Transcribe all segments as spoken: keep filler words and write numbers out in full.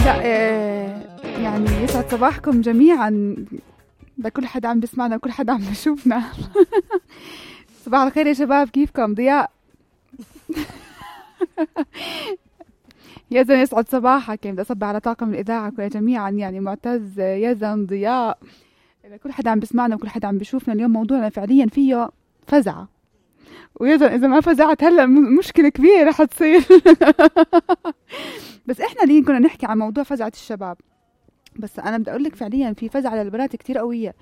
لا يعني يسعد صباحكم جميعا لكل حد عم بيسمعنا وكل حد عم بيشوفنا. صباح الخير يا شباب، كيفكم؟ ضياء يزن يسعد صباحك. بدي أصبح على طاقم الإذاعة جميعا، يعني معتز، يزن، ضياء، كل حد عم بيسمعنا وكل حد عم بيشوفنا. اليوم موضوعنا فعليا فيه فزعة، ويزن إذا ما فزعت هلأ مشكلة كبيرة رح تصير. بس إحنا اليوم كنا نحكي عن موضوع فزعة الشباب، بس أنا بدي أقول لك فعليا في فزعة للبنات كتير قوية.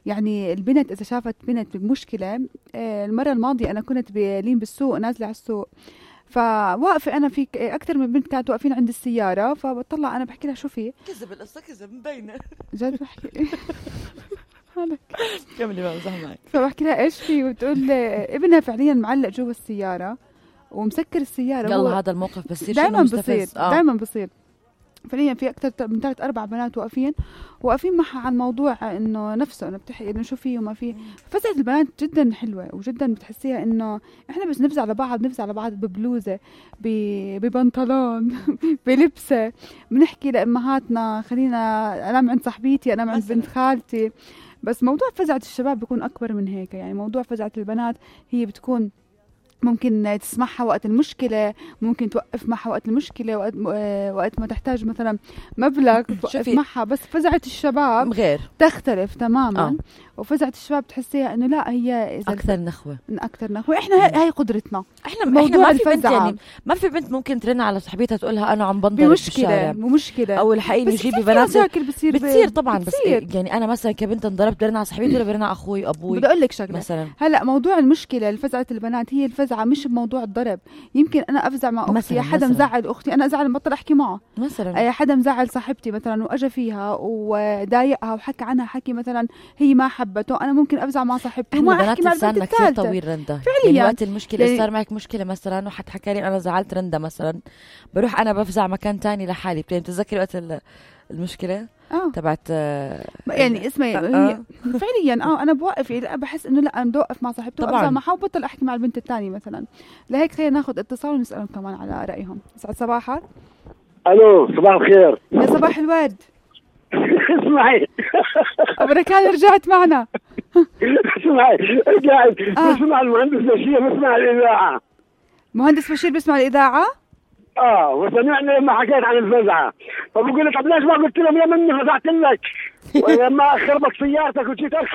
يعني البنت إذا شافت بنت بمشكلة، المرة الماضية أنا كنت بلين بالسوق، نازلة على السوق، فواقفة أنا في أكتر من بنت كانت واقفين عند السيارة، فبطلع أنا بحكي لها شو في؟ كذب القصة، كذب مبينة جد بحكي هلك كملي بقى بزح معك. فبحكي لها إيش في؟ وتقول ابنها فعليا معلق جوا السيارة ومسكر السيارة. يلا هذا الموقف بصير دايما بصير آه. دايما بصير فعليا في أكتر من ثلاث أربع بنات واقفين واقفين معها عن موضوع إنه نفسه، إنه بتحكي إنه شو فيه وما فيه. فزعة البنات جدا حلوة وجدا بتحسيها إنه إحنا بس نفزع على بعض، نفزع على بعض ببلوزة، ببنطلون، بلبسة، بنحكي لأمهاتنا خلينا أنام عند صاحبيتي، أنام عند بنت خالتي. بس موضوع فزعة الشباب بيكون أكبر من هيك. يعني موضوع فزعة البنات هي بتكون ممكن تسمعها وقت المشكلة، ممكن توقف معها وقت المشكلة، وقت, وقت ما تحتاج مثلا مبلغ توقف معها. بس فزعة الشباب غير تختلف تماما. آه. وفزعة الشباب تحسيها انه لا، هي إذا أكثر نخوة أكثر نخوة. إحنا هاي قدرتنا. إحنا موضوع ما في بنت، يعني ما في بنت ممكن ترن على صاحبتها تقولها أنا عم بنضرب بالشارع بمشكلة أو الحقيقة يجيبي بنات بتصير, بتصير طبعا بتصير. بس يعني أنا مثلا كبنت انضربت برن على صاحبتي ولا برن على أخوي أبوي. بدي أقول لك شغلة مثلا، هلا موضوع المشكلة الفزعة البنات هي الفزعة مش بموضوع الضرب. يمكن أنا أفزع مع أختي، حدا مزعل أختي أنا أزعل بطل أحكي معه مثلا، أي حدا مزعل صاحبتي مثلا وأجا فيها وضايقها وحكى عنها حكي مثلا هي ما حبته، أنا ممكن أفزع مع صاحبتي وما أحكي مع البنت الثالثة. كثير طويل رندا فعليا. يعني وقت المشكلة يعني صار معك مشكلة مثلا وحد حكى لي أنا زعلت رندا مثلا، بروح أنا بفزع مكان تاني لحالي. بتتذكري وقت المشكلة آه. تبعت آه يعني اسمعي آه. فعليا اه انا بوقف، يعني بحس انه لا انا بدي اوقف مع صاحبتي وابزع معها وبطل احكي مع البنت الثانيه مثلا. لهيك خلينا ناخذ اتصال ونسالهم كمان على رايهم. يسعد صباحك. الو صباح الخير. يا صباح الورد. اسمعي ابو ركان رجعت معنا. اسمعي رجعت بسمع المهندس بشير، بسمع الاذاعه. مهندس بشير بسمع الاذاعه؟ اه وسمعني لما حكيت عن الفزعه، فبقول لك طب ليش ما قلت لهم يا مني فزعت لك ولما خربك سيارتك وجيتك.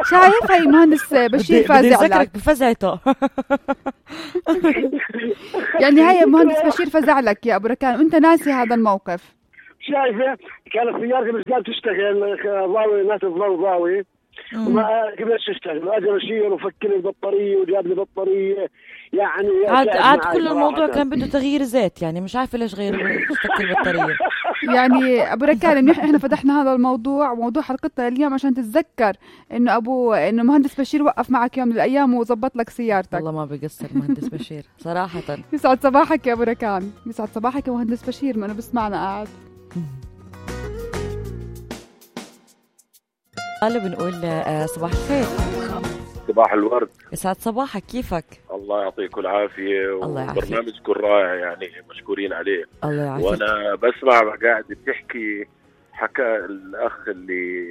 شايف هي مهندس بشير فازع لك بفزعته. يعني هي مهندس بشير فزع لك يا ابو ركان وانت ناسي هذا الموقف. شايفه كانت سيارتي مش قاعده تشتغل، ضاوي ناس الضوء ضاوي وما قدرتش تشتغل، واجى بشير وفك لي البطاريه وجاب لي بطاريه. يعني عاد عاد كل الموضوع كان بده تغيير زيت، يعني مش عارفه ليش غير فك البطاريه. يعني ابو ركان احنا فتحنا هذا الموضوع وموضوع حلقتنا اليوم عشان تتذكر انه ابو انه مهندس بشير وقف معك يوم من الايام وظبط لك سيارتك. والله ما بقصر مهندس بشير صراحه. يسعد صباحك يا ابو ركان. يسعد صباحك يا مهندس بشير، ما انا بسمعنا قاعد. قالوا بنقول صباح الخير. صباح الورد. يسعد صباحك، كيفك؟ الله يعطيكم العافية. وبرنامجكم رائع، يعني مشكورين عليه. الله يعافيك. وانا بسمع قاعد بتحكي، حكى الاخ اللي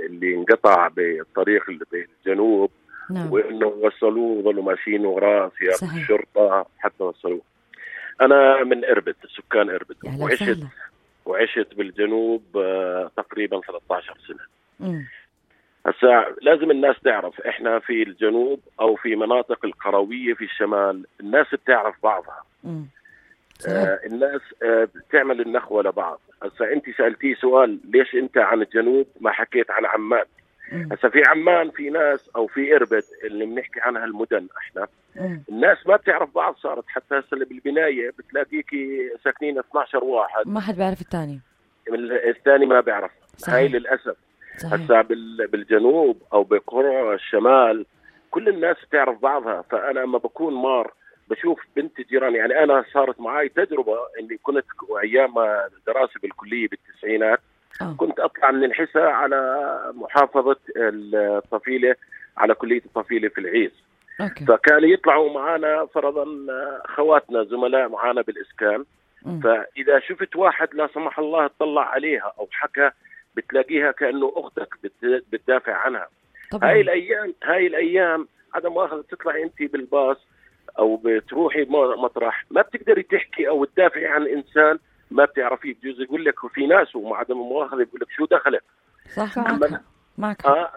اللي انقطع بالطريق اللي بالجنوب. نعم. وانه وصلوه وظلوا ماشيين وراه سيارة الشرطة حتى وصلوه. انا من اربد، سكان اربد، وعشت سهلة. وعشت بالجنوب تقريبا ثلاثة عشر سنة. امم هسا لازم الناس تعرف احنا في الجنوب او في مناطق القروية في الشمال الناس بتعرف بعضها. آه الناس آه بتعمل النخوة لبعض. هسا انت سألتي سؤال ليش انت عن الجنوب ما حكيت عن عمان. هسا في عمان في ناس او في اربد اللي بنحكي عنها المدن احنا مم. الناس ما بتعرف بعض. صارت حتى هسا بالبناية بتلاقيكي ساكنين اثني عشر واحد ما حد بيعرف الثاني، الثاني ما بيعرف. هاي للأسف. هسا بالجنوب او بقرى الشمال كل الناس بتعرف بعضها. فانا لما بكون مار بشوف بنت جيراني، يعني انا صارت معي تجربه اني كنت ايام دراسه بالكليه بالتسعينات أوه. كنت اطلع من الحسا على محافظه الطفيله على كليه الطفيله في العيس. أوكي. فكانوا يطلعوا معنا فرضا خواتنا زملاء معنا بالاسكان مم. فاذا شفت واحد لا سمح الله اطلع عليها او حكى، بتلاقيها كانه اختك بت- بتدافع عنها. طبعا. هاي الايام هاي الايام عدم مؤاخذة تطلع انت بالباص او بتروحي مطرح، ما بتقدري تحكي او تدافعي عن انسان ما بتعرفيه، بجوز يقول لك، وفي ناس ومع عدم المؤاخذة يقول لك شو دخلك. صح. صح. معك أما, معك آه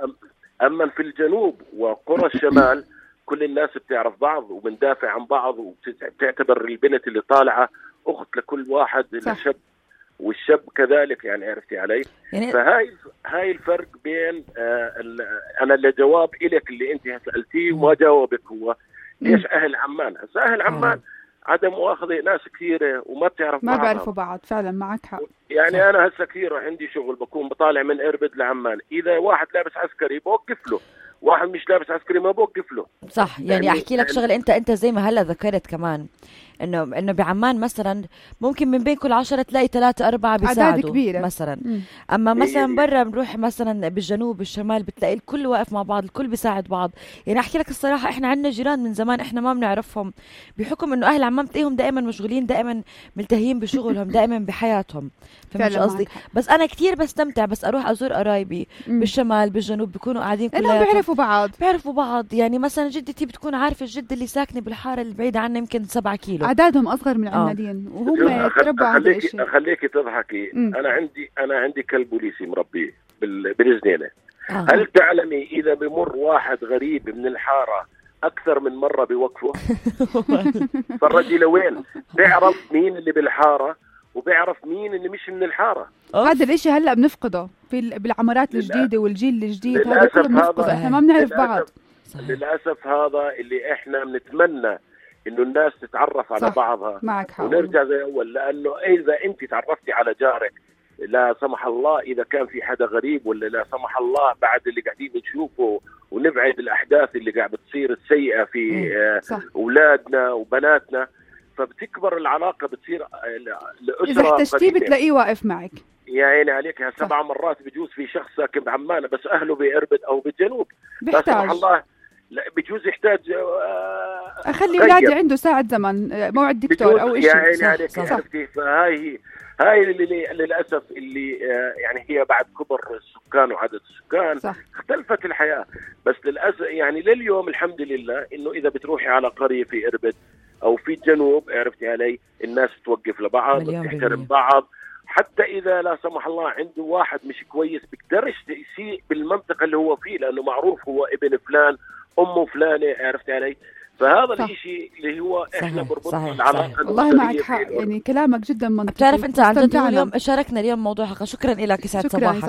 اما في الجنوب وقرى الشمال كل الناس بتعرف بعض وبندافع عن بعض، وبتعتبر البنت اللي طالعة اخت لكل واحد، الشاب والشاب كذلك، يعني عرفتي علي. يعني فهاي هاي الفرق بين آه انا اللي جواب إلك اللي انت سألتيه وما جاوبك هو ليش اهل عمان. هسه اهل عمان عدم مؤاخذة ناس كثيرة وما بتعرف ما بعضها. بيعرفوا بعض فعلا، معك حق. يعني صح. انا هسه كثير عندي شغل، بكون بطالع من اربد لعمان، اذا واحد لابس عسكري بوقف له، واحد مش لابس عسكري ما بوقف له. صح. يعني يعني احكي لك شغله، انت انت زي ما هلا ذكرت كمان انه انه بعمان مثلا ممكن من بين كل عشرة تلاقي ثلاثة أربعة بيساعدوا كبيرة. مثلا. مم. اما مثلا برا بنروح مثلا بالجنوب بالشمال بتلاقي الكل واقف مع بعض، الكل بيساعد بعض. يعني احكي لك الصراحه احنا عندنا جيران من زمان احنا ما بنعرفهم، بحكم انه اهل عمان بتلاقيهم دائما مشغولين، دائما ملتهيين بشغلهم، دائما بحياتهم. فهمت فعلا قصدي؟ معك حق. بس انا كثير بستمتع بس اروح ازور قرايبي مم. بالشمال بالجنوب، بيكونوا قاعدين لأنهم كلياتهم بيعرفوا بعض. بيعرفوا بعض. يعني مثلا جدتي بتكون عارفة الجد اللي ساكنة بالحارة اللي بعيدة عنا يمكن سبعة كيلو. أعدادهم أصغر من آه. العنادين وهم أخ- يتربوا على هذا اخليكي الشيء. اخليكي تضحكي. مم. انا عندي انا عندي كلب بوليسي مربيه بال- بالجنينه. آه. هل تعلمي اذا بمر واحد غريب من الحاره اكثر من مره بيوقفه؟ فرجي لوين بيعرف مين اللي بالحاره وبيعرف مين اللي مش من الحاره. هذا الاشي هلا بنفقده في ال- بالعمارات للأ- الجديده والجيل الجديد، هذا للأسف كله بنفقده، هذا- احنا ما بنعرف للأسف- بعض. صحيح. للاسف هذا اللي احنا بنتمنى انه الناس تتعرف على صح. بعضها معك حق. ونرجع زي اول، لانه اذا انت تعرفتي على جارك لا سمح الله اذا كان في حدا غريب، ولا لا سمح الله بعد اللي قاعدين نشوفه ونبعد الاحداث اللي قاعد بتصير السيئه في آه، صح. اولادنا وبناتنا، فبتكبر العلاقه، بتصير آه، الاسره اذا احتجتيه قريبة. بتلاقيه واقف معك. يا عيني عليك. صح. سبع مرات بجوز في شخص ساكن بعمان بس اهله باربد او بالجنوب، لا سمح بيحتاج الله لا بجوز يحتاج آه، اخلي غير. اولادي عنده ساعه زمن، آه، موعد دكتور او بجوز. يا شيء. عيني صح، عليك. صح. عرفتي؟ فهاي هاي اللي للاسف اللي آه، يعني هي بعد كبر السكان وعدد السكان صح. اختلفت الحياه. بس للاسف يعني لليوم الحمد لله انه اذا بتروحي على قريه في اربد او في الجنوب، عرفتي علي، الناس بتوقف لبعض، مليون بتحترم بالمية. بعض. حتى اذا لا سمح الله عنده واحد مش كويس بيقدرش يسيء بالمنطقه اللي هو فيه، لانه معروف هو ابن فلان امه فلانه، عرفتي علي. فهذا صح. الشيء اللي هو احنا صحيح، بربطنا صحيح، العلاقه صحيح. والله الأسرية معك في حق، الأردن. يعني كلامك جدا منطقي. بتعرف انت عن جد استمتعنا. اليوم شاركنا اليوم موضوع حلقة. شكرا لك، يسعد شكراً. صباحك.